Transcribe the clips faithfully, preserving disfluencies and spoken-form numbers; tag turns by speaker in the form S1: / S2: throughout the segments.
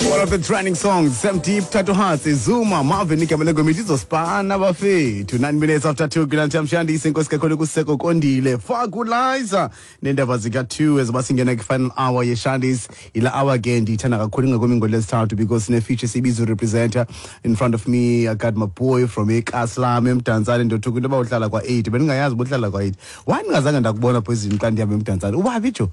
S1: One of the trending songs, Sam Deep, Thatohatsi, Zuma, Marvin, igama lengoma ithi Izospana bafethu. Nine minutes after two, kulantsham shandi inkosi kakhulu kuseko kondile. Fakulizer. Nendaba zika two ezoba singena ku-final hour yeshandis. Ila hour ke ndiyithanda kakhulu ingakumbi ngolwesithathu because sine feature sibiza representer in front of me. I got my boy from eKaslam eMdantsane ndothuka into yoba uhlala kwa-eight. Bendingayazi uba uhlala kwa-eight. Why ndingazange ndakubona poison xa ndihamba eMdantsane? Ubaphi jo?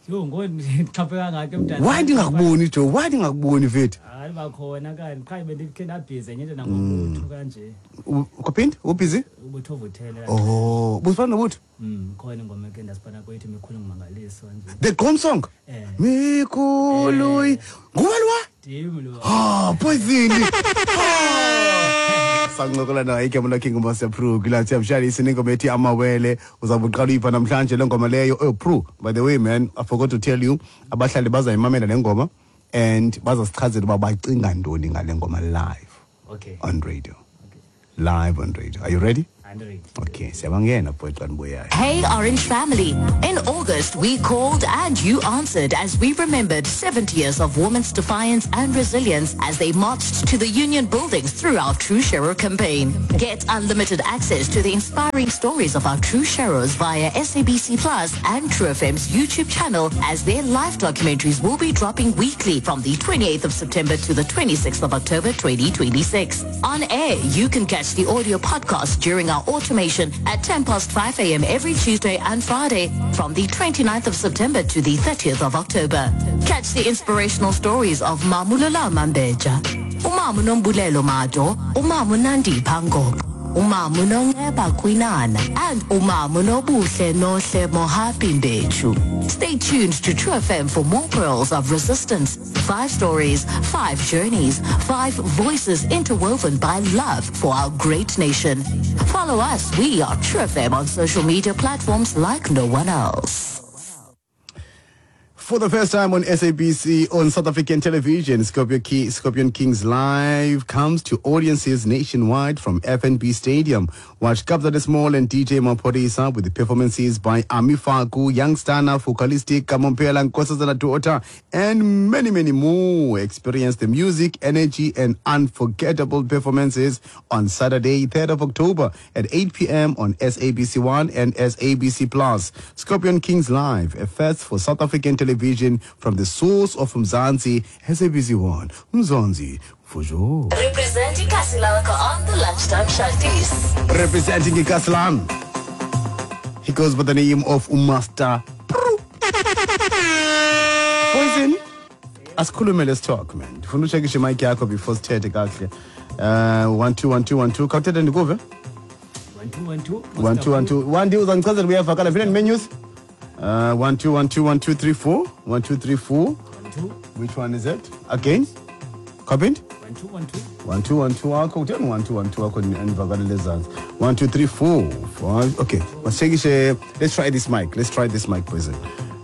S2: Yho, ngoku ndixhaphe kangaka eMdantsane.
S1: Why ndingakuboni jo? Why ndingakuboni mfethu?
S2: Hayi bakhona kanti qha bendikhe ndabhizi enye into nangobutho kanje.
S1: U- Kwaphinde? Ubusy?
S2: Ubutho ovuthele.
S1: Oh, busifana nobutho?
S2: Mm, khona ingoma eke ndasipana kwethu mikhulu ngumangaliso nje.
S1: The Gqom song?
S2: Eh.
S1: Mikhulu.
S2: Eh.
S1: Nguwe lwa?
S2: Ndim lo.
S1: Ah, poison. Sancokola naye igama lakhe nguMaster Pro kulathi amshayisi nengoma ethi amawele uzawube uqala uyiva namhlanje le ngoma leyo. Oh Pro, by the way man, I forgot to tell you abahlali bazayimamela le ngoma and bazasichazela uba bacinga ntoni ngale ngoma live
S2: Okay.
S1: on radio.
S2: Okay.
S1: Live on radio. Are you ready?
S2: I'm ready.
S1: Okay, siyabangena boy xa nibuyayo.
S3: Hey Orange Family. In August, we called and you answered as we remembered seventy years of women's defiance and resilience as they marched to the union buildings through our True Sharer campaign. Get unlimited access to the inspiring stories of our True Sharers via S A B C Plus and True F M's YouTube channel as their live documentaries will be dropping weekly from the twenty-eighth of September to the twenty-sixth of October twenty twenty-six. On air, you can catch the audio podcast during our automation at ten past five a m every Tuesday and Friday from the 29th of September to the thirtieth of October. Catch the inspirational stories of Mamulula Mambeja, Umamu Nombulelo Mado, Umamu Nandi Pango, Umamu Nongeba Kwinana, and Umamu Nobuhle Nohle Mohapi Mbechu. Stay tuned to True F M for more pearls of resistance. Five stories, five journeys, five voices interwoven by love for our great nation. Follow us. We are True F M on social media platforms like no one else.
S1: For the first time on S A B C on South African television, Scorpion, King, Scorpion Kings Live comes to audiences nationwide from F N B Stadium. Watch Kabza De Small and D J Maphorisa with the performances by Ami Faku, Young Stunna, Focalistic, Kamo Mphela, Nkosazana Daughter, and many, many more. Experience the music, energy, and unforgettable performances on Saturday, third of October at eight p m on S A B C one and S A B C Plus. Scorpion Kings Live, a first for South African television from the source of Mzansi, S A B C one. Mzansi, for sure.
S3: Representing Kasi lakho on the Lunchtime Shanties.
S1: Representing Ikaslam, he goes by the name of uMaster Pro. Poison, asikhulume, let's talk man. Ndifuna uchekishe mic yakho before sithethe kakuhle. Uh, one two one two one two. Khawuthethe ndikuve.
S2: One two one two.
S1: One two one two. One uzandichazela uyavakala phela menus. Uh, one two one two one two three four one two three four.
S2: One two.
S1: Which one is it? Again? Copy?
S2: One two one two.
S1: One two one two wakho utheni one two one two wakho andivakale lezantsi. One two three four five. Okay. Masishekishe. Let's try this mic. Let's try this mic poison.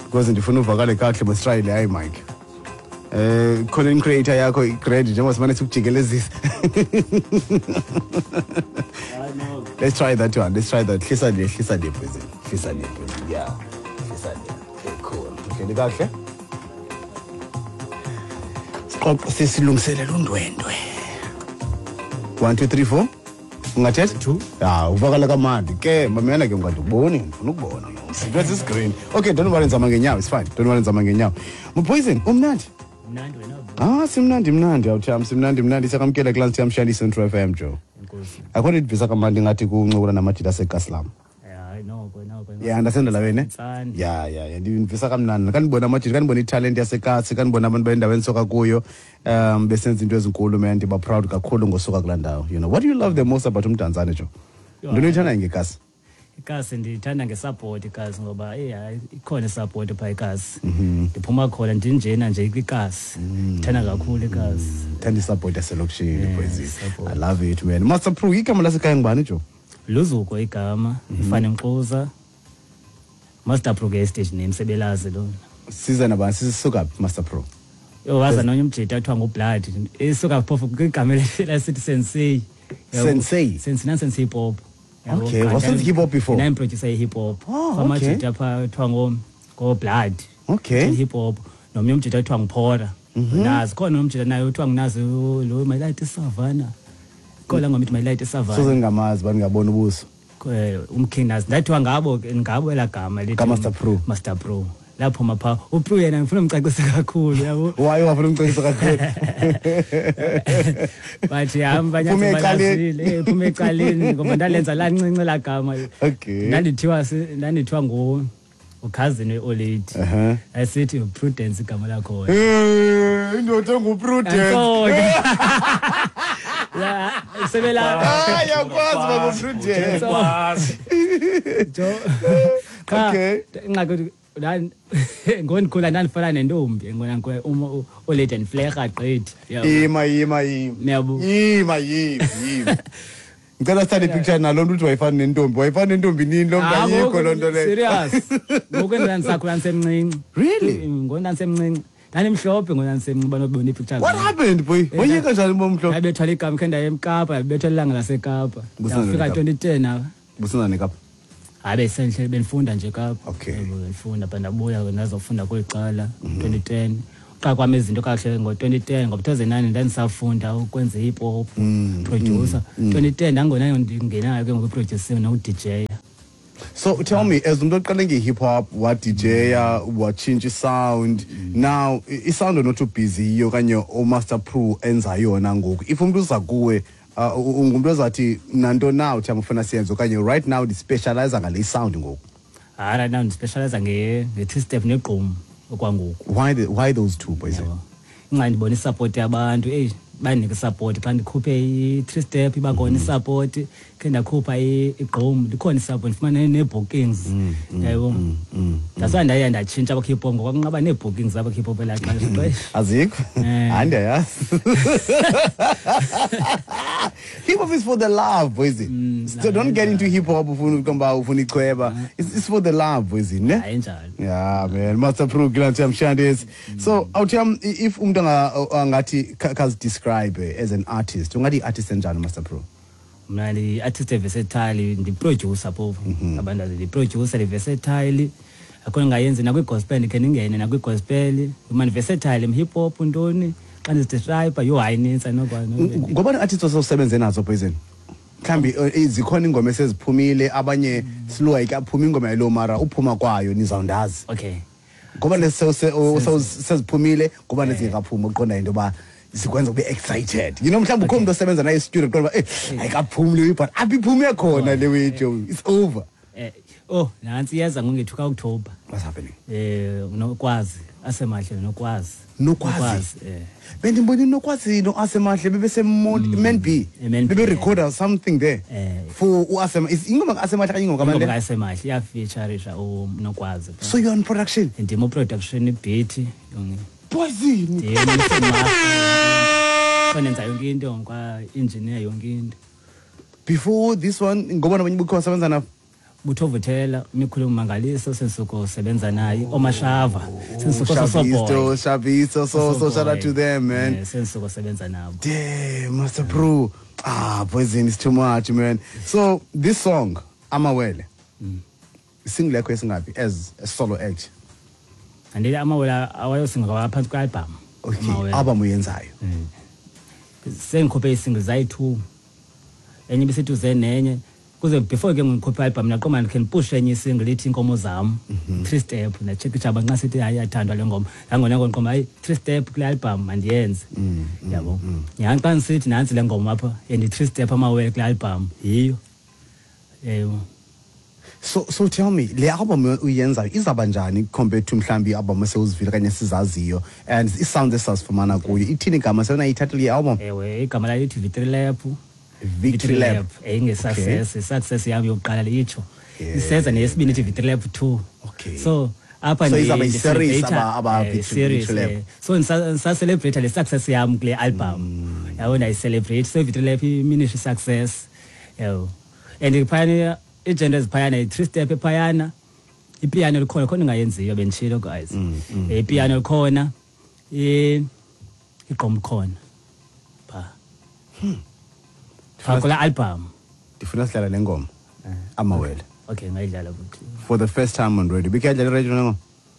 S1: Because ndifuna uvakale kakuhle must try le hayi mic. Eh content creator yakho igrade njengoba simane sikujikelezisa.
S2: I know.
S1: Let's try that one. Let's try that. Hlisa le, hlisa le poison. Hlisa le poison. Yeah. Hlisa le. Okay, cool. Okay, kakuhle. Siqoqo sesilungiselela undwendwe. one two three four. Ungathetha?
S2: Two.
S1: Ya, uvakala kamandi. Ke mamela ke ungandiboni, ndifuna ukubona. Siveza iscreen. Okay, don't worry nzama ngenyawo, it's fine. Don't worry nzama ngenyawo. Poison, umnandi.
S2: Mnandi wena.
S1: Ah, simnandi mnandi awutham, simnandi mnandi siyakamkela kulaa siyamshayela Central F M Joe.
S2: Enkosi.
S1: Akho nto idivisa kamandi ngathi kuncokola namajita aseKaslam.
S2: Hayi noko noko.
S1: Yeah, understand la wena.
S2: Ntsane.
S1: Ya ya ya ndivisa kamnandi. Kanibona amajita, kanibona italent yasekasi, kanibona abantu bendawo endisoka kuyo um besenza into ezinkulu man, ndiba proud kakhulu ngosuka kulaa ndawo. You know, what do you love the most about uMdantsane Joe?
S2: Yho,
S1: Ntoni oyithandayo ngekasi?
S2: Ikasi ndiyithanda ngesupport ikasi ngoba eh hayi ikhona isupport phaa ikasi. Ndiphuma khona ndinjena nje kwikasi. Ndithanda kakhulu ikasi.
S1: Thanda isupport yaselokishini
S2: Yeah,
S1: poison.
S2: Support.
S1: I love it man. Master Pro, igama lasekhaya ngubani Joe?
S2: Luzuko igama, ifane Mxuza. Master Pro ke stage name sebelazi lona.
S1: Siza nabani sisuka phi Master Pro?
S2: Yo waza nonye umjita kuthiwa nguBlood. Isuka phofu kwigama lasithi Sensei. Yabo.
S1: Sensei?
S2: Sensei na Sensei hip hop. Yabo,
S1: Okay,
S2: kanti
S1: wasenza hip hop before?
S2: Nami producer hip hop.
S1: Oh, okay.
S2: Amajita pha kuthiwa ngo ngo Blood.
S1: Okay.
S2: Hip hop. Nomnye umjita kuthiwa nguPhora. Nazi khona umjita naye uthiwa nginazi lo My Light Savannah. Khona ngoma ithi My Light Savannah.
S1: Soze ngingamazi bani ngabona ubuso.
S2: Eh, umking Nazi ndathiwa ngabo ngabo elagama lithi
S1: Ka-Master Pro.
S2: Master Pro. Lapho mapha uPro yena ngifuna umcacise kakhulu yabo.
S1: Why wafuna umcacise kakhulu?
S2: But hamba
S1: Phume ecaleni.
S2: eh phume ecaleni ngoba ndalenza lancinci lagama.
S1: Okay.
S2: Ndandithiwa ndandithiwa ngo ucousin we-olady.
S1: Uh-huh.
S2: Asithi Prudence igama lakho.
S1: Eh, indoda enguPrudence.
S2: La sebela
S1: Ah, yakwazi baba Prudence.
S4: Kwazi.
S2: Jo. Cha,
S1: Okay.
S2: ingxaki ndan ngondikhula ndandifana nentombi ngona ngikwe uma olady and fleha gqithi. Yabo.
S1: Ima ima ima.
S2: Yabo.
S1: Ima yima yima. Ngicela sithathe picture nalo mntu uthi wayefana nentombi. Wayefana nentombi nini lo mntu
S2: Ah,
S1: ayikho
S2: ngoku
S1: loo nto leyo.
S2: Serious. Ngoku ndandisakhula ndisemncinci.
S1: Really?
S2: Ngoku ndandisemncinci. Ndandimhlophe ngoku ndandisemncinci banobona ipicture.
S1: What happened boy? Wayeka njani bomhlophe?
S2: Ndabethwa ligama khe ndaye eMkapa, ndabethwa ilanga laseKapa.
S1: Busana
S2: Ndafika
S1: neKapa.
S2: twenty ten apha.
S1: Busana neKapa.
S2: Hayi besenhle benifunda nje Kapa.
S1: Okay.
S2: Yebo, benifunda but ndabuya ndazofunda kweli cala twenty ten. Uqala kwami izinto kahle ngo twenty ten ngoba two thousand nine ndandisafunda ukwenza hip hop producer. twenty ten ndangona ndingenayo ke ngoku producing no D J.
S1: So tell me, as umuntu oqale nge-hip hop, wa D J, watshintsha sound. Now i sound not too busy okanye o Master Pro enza yona ngoku. If umuntu uza kuwe uh, ungumuntu ozathi nanto now uthi ufuna siyenze okanye right now ndi-specialize ngale sound ngoku.
S2: Hayi, right now ndispecialize nge nge three step negqom okwangoku.
S1: Why the, why those two boys?
S2: Yabo. Inxa ndibona isupport yabantu, eyi bandinika isupport xa ndikhuphe i-three step iba khona isupport, khe ndakhupha igqom likhona isupport, ndifumane nee-bookings yabo. That's why ndaye ndatshintsha apha hip hop ngoba kunqaba nee-bookings apha hip hop elaa xesha xesha.
S1: Azikho?
S2: Eh.
S1: Hayi ndiyayazi. Hip hop is for the love, boys. So don't get into hip hop ufuna uqomba ufuna ichweba. It's, it's for the love, boys, ne?
S2: Hayi njalo.
S1: Yeah, man. Master Pro Glantiam Shandes. So, awuthiyam if umuntu anga- angathi kazi describe as an artist, ungathi artist enjani Master Pro?
S2: Mna ndi-artist versatile, ndi-producer phofu. Abantu ndi-producer, ndi-versatile. Akho ndingayenzi nakwi-gospel ndikhe ndingene nakwi-gospel. Mna ndi-versatile, hip hop ntoni. Xa ndizidescribe yho hayi inintsi andinokwazi.
S1: Ngoba ni-artist osewusebenze nazo Poison. Mhlambi eh, zikhona ingoma eseziphumile abanye slow ayikaphumi ingoma yalo mara uphuma kwayo nizawundazi.
S2: Okay.
S1: Ngoba lesi seziphumile ngoba lezingekaphumi uqonda into yoba zikwenza ube excited. You know mhlawumbe ukhona umuntu osebenza naye studio uqonda uba eh ayikaphumi le but apha iphume khona le way Joe. It's over.
S2: Eh oh nantsi iyeza ngongethu ka-October.
S1: What's happening?
S2: Eh nokwazi asemahle nokwazi.
S1: Nokwazi.
S2: Eh.
S1: Bendimbona nokwazi no Asemahle bebese Man B.
S2: Man B,
S1: Bebe recorder something there.
S2: Eh.
S1: For uAsema is ingoma kaAsemahle kanye ingoma
S2: Ingoma
S1: kaMandela.
S2: kaAsemahle iyafeatureisha uNokwazi.
S1: So you're on production.
S2: Ndim production beat yonke.
S1: Poison.
S2: Ndim nenza yonke into kwa engineer yonke into.
S1: Before this one ngoba nabanye bukho wasebenza na
S2: Buthovuthela imikhulu umangaliso sensuko sebenza naye omashava sensuko
S1: Shabisto,
S2: sosoboy.
S1: Shabisto, so so shout out to them, man.
S2: Eh, sensuko sebenza nabo.
S1: Damn, Master Pro. Ah, Poison is too much, man. So this song, Amawele. Single yakho esingapi as a solo act.
S2: Andile amawele awayosinga phantsi kwe-album.
S1: Okay,
S2: Amawele.
S1: album uyenzayo.
S2: Sengikhuphe isingle zayi-two enye ibisithi uze nenye kuze before ke ngikhuphe i-album ndaqonda ndikhe ndipushe enye isingle ithi inkomo zam three step ndachekisha uba nxa sithi hayi iyathandwa le ngoma nangona ngoqomba hayi three step kule album mandiyenze yabo. Nyhani xa ndisithi nantsi le ngoma apha and three step amawele kule album yiyo ewe.
S1: So so tell me, le album uyenzayo izaba njani compared to mhlambi i-album esewuzivile kanye sizaziyo and i-sound esazifumana kuyo ithini igama seyona i-title ye-album?
S2: Ewe, igama layo ithi Victory Lap.
S1: Victory Lap.
S2: Inge-success i-success yam yokuqala litsho
S1: Yeah.
S2: iseza neyesibini ithi Victory Lap two.
S1: Okay.
S2: So apha
S1: So
S2: ndi-
S1: izawuba yi-series
S2: ndicelebrate-
S1: aba- aba
S2: eh,
S1: Victory-
S2: series,
S1: Victory Lap.
S2: eh. So ndisacelebrate le success yam kule album yabo ndiyayicelebrate so Victory Lap iminisha i-success yabo and phayana iigenre eziphayana yi-three step ephayana ipiano likhona khona ingayenziyo benditshilo guys. Eh, ipiano likhona i- igqom likhona pha pha kula album.
S1: Ndifuna sidlala le ngoma Amawele.
S2: Okay, ngayidlala futhi.
S1: For the first time on radio. Bikhe yadlala radio le ngoma?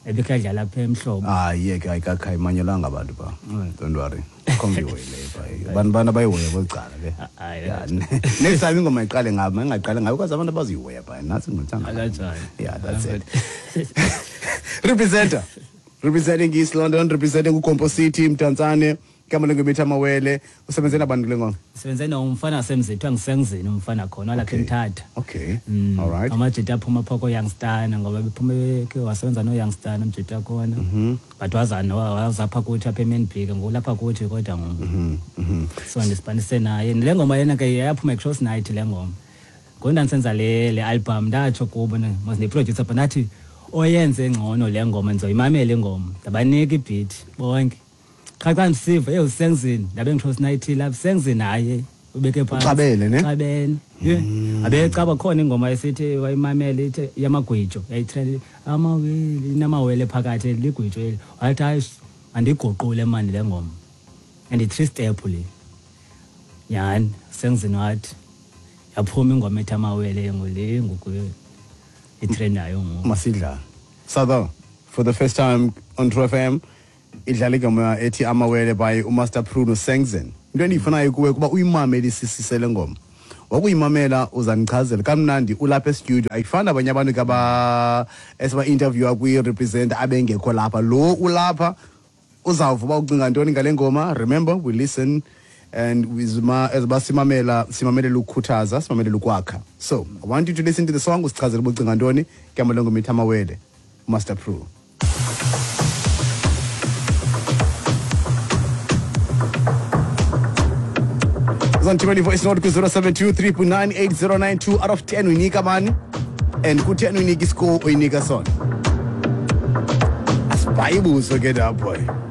S2: Ebikadlala apha emhlobo.
S1: Ah yeke ayikakhayimanyelanga abantu ba. Don't worry. Khombiwe le ba. Abantu bana bayihoya kwecala ke. Yeah. Next time ingoma iqale ngabo, ingaqale ngayo because abantu abazihoya ba. Nathi ngithanda.
S2: Akanjani.
S1: Yeah, that's it. Representer. Representing East London, representing uKompo City, Mdantsane, igama lengomitha Amawele. Usebenze nabantu kule ngoma?
S2: Usebenze nomfana wasemzini, angisengizini umfana khona lapha eMthatha.
S1: Okay.
S2: Mm.
S1: All right.
S2: Amajita aphuma phoko youngster ngoba bephume ke wasebenza no youngster umjita khona.
S1: Mhm.
S2: But wazana wazapha kuthi apha eMNB ke ngolapha kuthi kodwa ngoku.
S1: Mhm. Mhm.
S2: So ndisipanise naye. Le ngoma yena ke yaphuma eCross Night le ngoma. Ngoku ndandisenza le le album ndatsho kubo ne mos ne producer but nathi oyenze ngcono le ngoma ndizoyimamela ingoma. Ndabanika ibeat bonke. Cha xa ndisiva hey usengizini ndabe ngiCross Night lapha sengizini hayi ubeke phansi.
S1: Uxabele ne?
S2: Xabene. Yeah. Abecaba khona ingoma esithi wayimamela ithi yamagwijo yayitrend amawele inamawele phakathi ligwijo eli. Wathi hayi andiguqule mani le ngoma. And i three step le. Yani sengizini wathi yaphuma ingoma ethi amawele ngole ngoku itrendayo ngoku.
S1: Masidla. Southern for the first time on True F M idlala igama ethi Amawele by uMaster Pruno Sengzen. Into endiyifunayo kuwe kuba uyimamele isisise le ngoma. Wakuyimamela uzandichazela kamnandi ulapha e-studio. Ayifani abanye abantu kaba esiba interview kwi represent abengekho lapha. Lo ulapha uzawuva uba ucinga ntoni ngale ngoma. Remember we listen and wizma ezibasimamela simamelela ukukhuthaza simamelela ukwakha. So I want you to listen to the song usichazele uba ucinga ntoni igama lengoma ethi Amawele, Master Pru. Zantimeli voice note ku zero seven two three nine eight zero nine two out of ten uyinika bani and ku ten uyinika iscore uyinika sona. Asibayibuzo ke lapho.